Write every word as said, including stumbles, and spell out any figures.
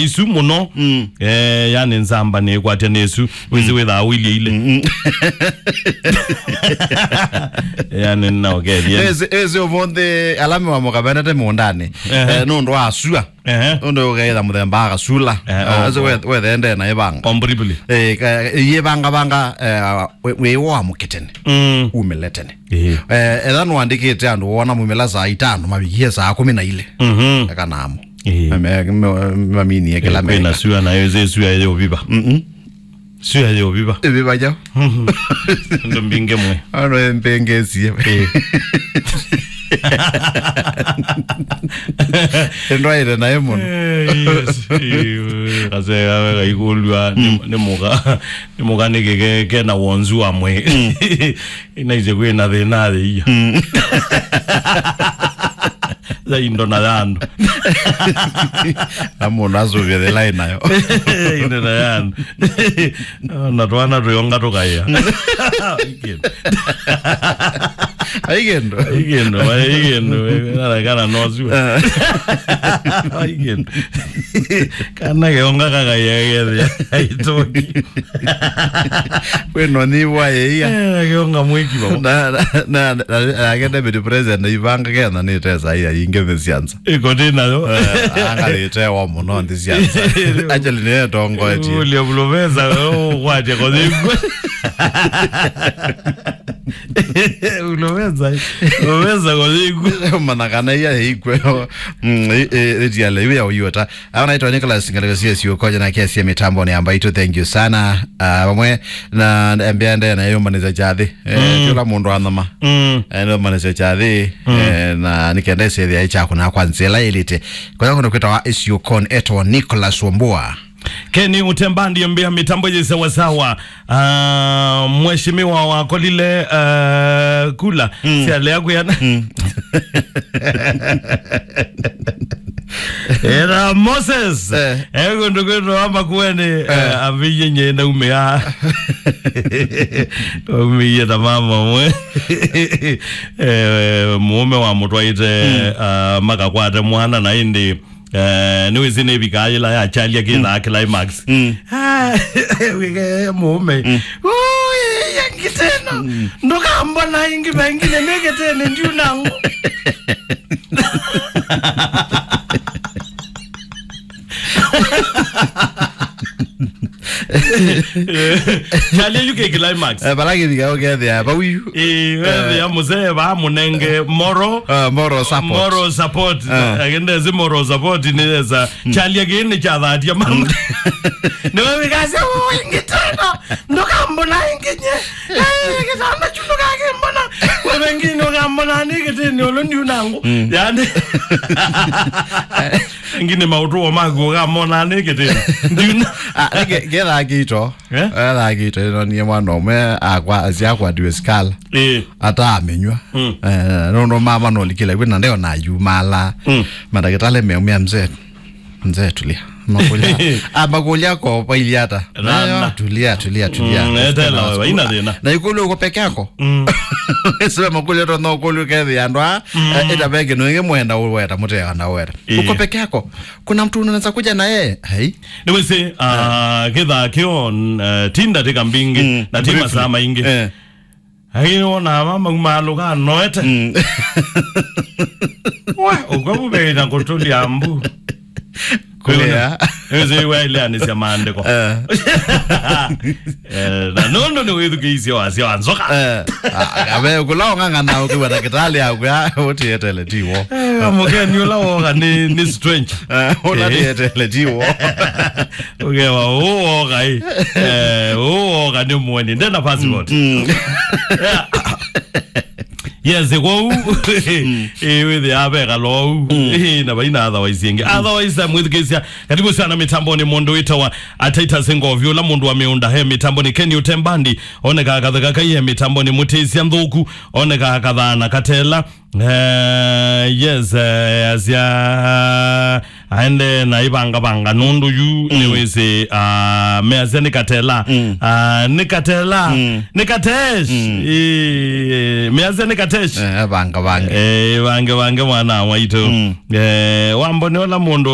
isu mũno. Mm. Eh, yani nzamba nĩ kwatya nĩ isu. Wĩsĩ wĩthaa ũilye ile. Mm, mm. Yani, na ũkethie. Ezi, ezi ũmũnthĩ ala me wa mũkavenete mũũndanĩ. Ehe. Eh, nũndũ wa sua. Ehe. Nũndũ ũkeitha mũthemba wa kasula. Eh, eh, oh, azo oh. We, wethende na ĩvanga. Completely. Eh, ka, ĩvangavanga, eh, wĩ, wĩ wa mũkĩtene. Mm. Umĩle tene. Eh. Eh, etha nũandĩkĩte andũ wona mumĩla saa itano, mavikie saa kũmi na ilĩ. Mhm. Eka namo. Eh. Mame-, me-, maminie kĩla eh, kwĩna meka. Sua na ĩyo, sua ĩyo viva. Mhm. Sua ĩyo viva. Ĩviva jau. Ndo mbinge mwe. Ano mpenge sie. Eh. Ndwaire naye mũno. Eh, yes. Eh, kase awe kaikulwa ni, mm, ni mũka, ni mũka nĩ keke, kena wonzu wa mwe. Mm. Inaise kwĩna thĩna thĩ iya. Mm. Za indo na yandu. Na mũndũ asũvĩthĩla ĩnayo. Indo na yandu. Na twana tũyonga tũkaĩa. Aikendo. Aikendo, aikendo, aikendo. Kana, kana no sua. Aikendo. Kana keonga kakaĩa kethĩa. Aitoki. Kwĩno nĩ wa ĩia. Eh, keonga mwĩki baba. Na, na, na, na, nake deputy president ivanga kena nĩ tesa iya ingĩ mĩsianza. Iko ndĩ nayo. Eh, angalĩte wa mũno nthĩ cia nza. Actually, nĩ tongoetie. Ulia bulomeza, oh, kwatia kwa thĩngwe. Ulomeza, ulomeza kwa thĩngwe. Mana kana iya ikwe. Mm, e, e, etiale, iwe ya uyota. Anaitwa Nicholas Ngaleka C S U, koja na kesi ya mitambo ni ambaito. Thank you sana. Ah, vamwe na mbea ndee na yombanĩsya kyathĩ. Eh, mm, tiola mũndũ anoma. Mm. Eh, nĩombanĩsya kyathĩ. Mm. Eh, na nĩkenda ĩsethĩa ĩkyakũna kwa nzĩa ĩla ĩlĩte. Kwa hiyo kwĩtawa ĩsiũkonĩ etwa Nicholas Wambua. Kenny Utembandi mbĩa mitambo yĩ sawasawa. Ah, mheshimiwa wakolile, ah, kula. Mm. Sialea kuyana. Mm. Era Moses. Eh. Ego ndukwĩtwa wa Makueni, eh, aviye nye naumĩa. Umĩie ta mama mwe. Eh, mũũme wa mũtwaĩte, mm, ah, makakwate mwana na ĩndĩ, eh, nĩwĩsĩ nĩvikaa yĩla ya Charlie akĩthaa, mm, climax. Mm. Ah, wĩke mũũme. Mm. Ũĩ, ĩngĩ tena. Mm. Ndũkambona ĩngĩ vengine nĩkĩtene ndiunangu. Charlie, yu kĩ climax. Eh, vala kĩvika ũkethĩa vau yu. Eh, wethĩa mũsee va mũnenge moral, ah, moral support. Moral support. Ah. Lakini ndesi moral support nĩ yesa. Mm. Charlie kĩnĩ kyathatia mama. Mm. Nĩwe wĩkasya, "Ũũ, ĩngĩ tena. Ndũkambona ĩngĩ nye. Eh, kĩtanda kyu ndũkakĩmbona. Wewe ngĩ ndũkambona nĩ kĩtĩnĩ ũlũ ndiunangu." Mm. Yani. Ngine maũtũo maku ũkamona nĩ kĩtĩnĩ. Ndiuna. Ah, nĩ ke-, kethaa kĩito. Eh? Ethaa kĩito, ĩno niĩ mwana ũmwe akwa, asyakwatiwe sikala. Eh. Ataamĩnywa. Mm. Eh, nũndũ mama nolikile kwĩ na ndeo na yumala. Mm. Mandagĩtalĩ meumĩa mzee. Mzee, tulia. Makulia. Ah, makulia ko pailia ata. Rana. Nayo, tulia, tulia, tulia. Mm, etela wewe, ina thĩna. Na ikulu uko peke yako. Mm. Sio makulia to no kulu ke the andwa. Mm. Eh, ita beke no inge mwenda uweta, mute anda weta. Eh. Uko peke yako. Kuna mtu unaweza kuja na yeye? Hai. Nĩwĩsĩ, ah, kĩthaa kĩo, eh, ti ndatĩka mbingĩ, mm, na ti briefly, masaa maingĩ. Eh. Ai, wona mama umaalũka noete. Mm. We, ũkwa vuvei na kũtũlya mbu. Kũlea. Ĩzi waileanĩsya maandĩko. Eh. Eh, na nũndũ nĩ wĩthukĩisye wasya wa nzoka. Eh. Ah, abe kũla ũng'ang'ana ũkiwa ndakĩtalĩ yaku ya ũtietele tiwo. Eh, mũkeni ũla woka nĩ, nĩ strange. Eh, ũla, eh, tietele tiwo. Ũkewa, ũũ woka ĩ. Eh, ũũ woka nĩ mũeni. Ndena passport. Mm. Yeah. Yes, kwoou. Mm. Eh, wĩthĩaa ve kalou. Mm. Eh, na vaina otherwise ĩngĩ. Otherwise, mwĩthukĩĩsya, karibu sana mitamboni mũndũ wĩtawa Titus Ngovi, ũla mũndũ wa mĩũnda he mitamboni. Kenny Utembandi, onekaa katheka kai he mitamboni. Mũtĩsya nthũku, onekaa kathaa na katela. Eh, yes, eh, asya, aende na ivangavanga nũndũ yu, mm, nĩwĩsĩ, ah, measya nĩ katela. Mm. Ah, nĩ katela. Mm. Nĩ katesh. Mm. Eh, measya nĩ katesh. Eh, vangavange. Eh, vangavange mwana waitũ. Mm. Eh, wambone ũla mũndũ